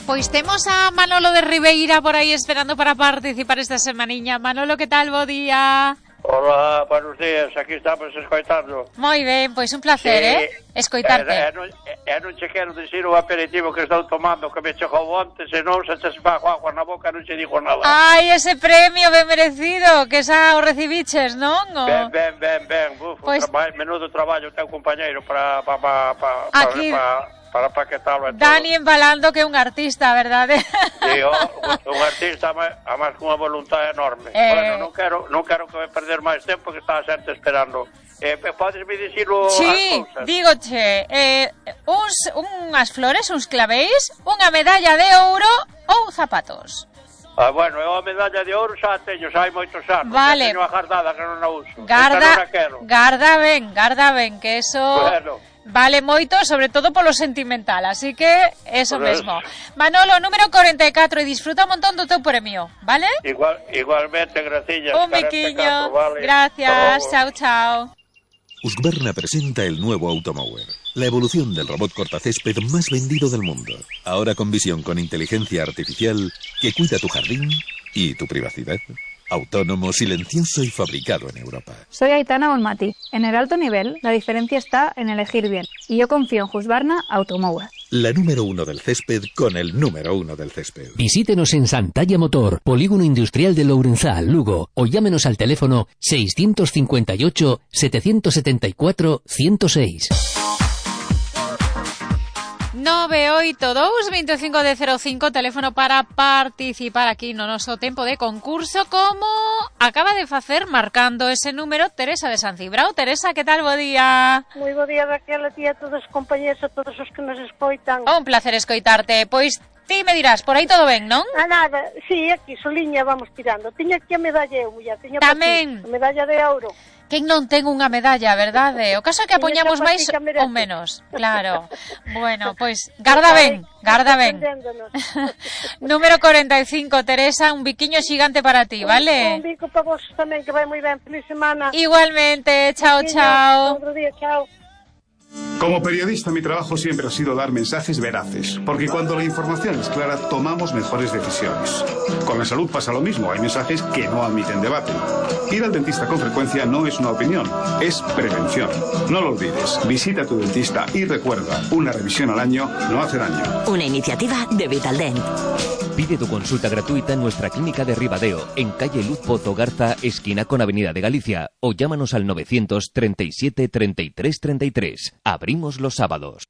Pois temos a Manolo de Ribeira por aí esperando para participar esta semaniña. Manolo, que tal? Bo día. Hola, buenos días, aquí estamos escoitando. Moi ben, pois un placer, escoitarte. Non che quero dicir o aperitivo que estou tomando, que me chegou onte, senón se te esfago agua na boca non che digo nada. Ai, ese premio ben merecido, que xa o recibiches, non? Ben, buf, pues... menudo traballo teu compañeiro para paquetarlo. Dani embalando que é un artista, verdade? Sí, un artista, además con unha voluntad enorme. Bueno, non quero que me perder máis tempo, que estaba xente esperando. Podesme dicirlo sí, as cousas? Dígoche, unhas flores, uns clavéis, unha medalla de ouro ou zapatos. Bueno, eu a medalla de ouro xa teño, xa hai moitos anos. Vale. Teño agardada que non a uso. Garda ben, que eso... Bueno. Vale moito, sobre todo polo sentimental, así que eso mesmo. Manolo, número 44, e disfruta un montón do teu premio, vale? Igualmente, gracias. Un biquiño, vale. Gracias, chao. Husqvarna presenta el nuevo Automower, la evolución del robot cortacésped más vendido del mundo. Ahora con visión con inteligencia artificial que cuida tu jardín y tu privacidad. Autónomo, silencioso y fabricado en Europa. Soy Aitana Bonmati. En el alto nivel, la diferencia está en elegir bien. Y yo confío en Husqvarna Automower. La número 1 del césped con el número 1 del césped. Visítenos en Santalla Motor, Polígono Industrial de Lourenzal, Lugo, o llámenos al teléfono 658 774 106. 982 25 de 05, teléfono para participar aquí no noso tempo de concurso, como acaba de facer marcando ese número Teresa de San Cibrao. Teresa, que tal? Bo día. Moi bo día, Raquel, a ti, a todos os compañeros, a todos os que nos escoitan. Un placer escoitarte. Pois ti me dirás, por aí todo ben, non? Nada, sí, aquí, soliña, vamos tirando. Tiña aquí a medalla eu, muller, tiña tamén a medalla de ouro. Quen non ten unha medalla, verdade? O caso é que apoñamos máis ou menos. Claro. Bueno, pois, garda ben. Número 45, Teresa, un biquiño xigante para ti, vale? Un bico para vos tamén, que vai moi ben. Feliz semana. Igualmente, chao. Outro día, chao. Como periodista, mi trabajo siempre ha sido dar mensajes veraces, porque cuando la información es clara, tomamos mejores decisiones. Con la salud pasa lo mismo, hay mensajes que no admiten debate. Ir al dentista con frecuencia no es una opinión, es prevención. No lo olvides, visita a tu dentista y recuerda, una revisión al año no hace daño. Una iniciativa de Vitaldent. Pide tu consulta gratuita en nuestra clínica de Ribadeo, en calle Luz Pozo Garza, esquina con Avenida de Galicia, o llámanos al 937 33 33. Abrimos los sábados.